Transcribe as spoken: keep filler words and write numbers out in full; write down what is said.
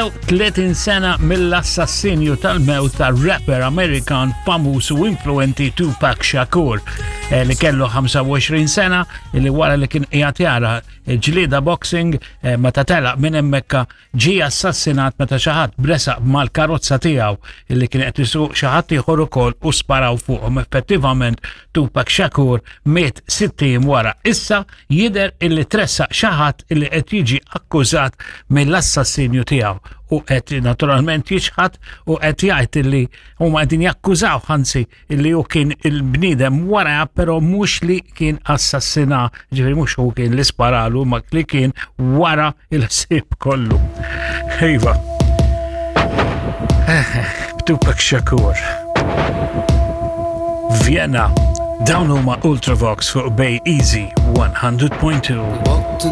Għaddew tletin sena mill-assassinju tal-mewt ta' rapper Amerikan famuż u influenti Tupac Shakur, eh, li kellu ħamsa u għoxrin sena, li wara li kien qiegħed jara ġlieda boxing, eh, meta telaq minn hemmhekk ġie assassinat meta xi ħadd bresaq mal-karozza tiegħu illi kien qed isuq xi ħadd ieħor ukoll u sparaw fuqhom. Effettivament Tupac Shakur miet sitt ijiem wara. Issa jidher illi tressaq xi ħadd illi qed jiġi akkużat mill-assassinju tiegħu u qed naturalment jiċħad u qed jgħid illi huma qegħdin jakkużaw, anzi, illi hu kien il-bniedem wara, però mhux li kien assassina, ġifieri mhux hu kien li sparalu, ma li kien wara il-ħsieb kollu. Iva. Tupac Shakur. Vienna. Dawn huma Ultravox fuq Bay Easy one hundred point two. Walked